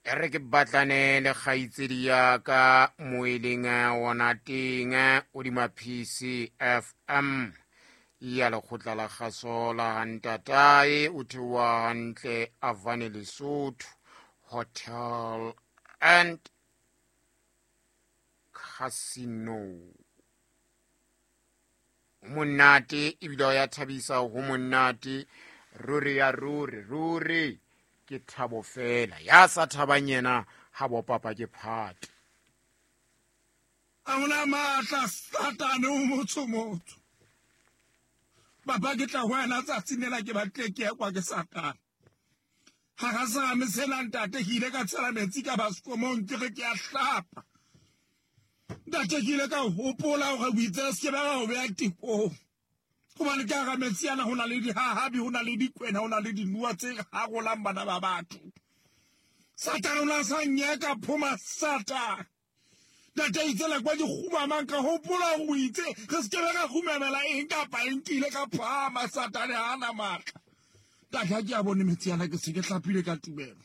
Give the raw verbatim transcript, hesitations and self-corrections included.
E re ke batlane le kgaitsedi ya ka mo e leng ona teng hodima P C F M ya lekgotla la kgaso la Hantatae, o theoha hantle Avane Lesotho Hotel and Casino. Monate ebile o ya thabisa, ho monate ruri ya ruri ruri, ke thabo fela. Ya sa thabang yena ha bo papa ke phate. A hona matla Satane o motsho motho. Papa, ke tla ho wena tsatsing lena, ke batle ke ekwa ke Satane hara serame sena. Ntate, ke ile ka tshela metsi ka baskomong, ke re ke a hlapa. Ntate, ke ile ka hopola hore o itse se ke ba ho beha tekong, hobane ke hara metsi ana ho na le dihahabi, ho na le dikwena, ho na le dinoha tse harolang bana ba batho. Satane o na sa nyeka phoma Satane. Ntate, itse la kwa ke kgumamang, ka hopola hore o itse re se ke be ra kgumamela eng kapa eng. Ke ile ka phahama, Satane ha ana matla. Ntate, ha ke a bone metsi ana, ke se ke hlapile ka tumelo.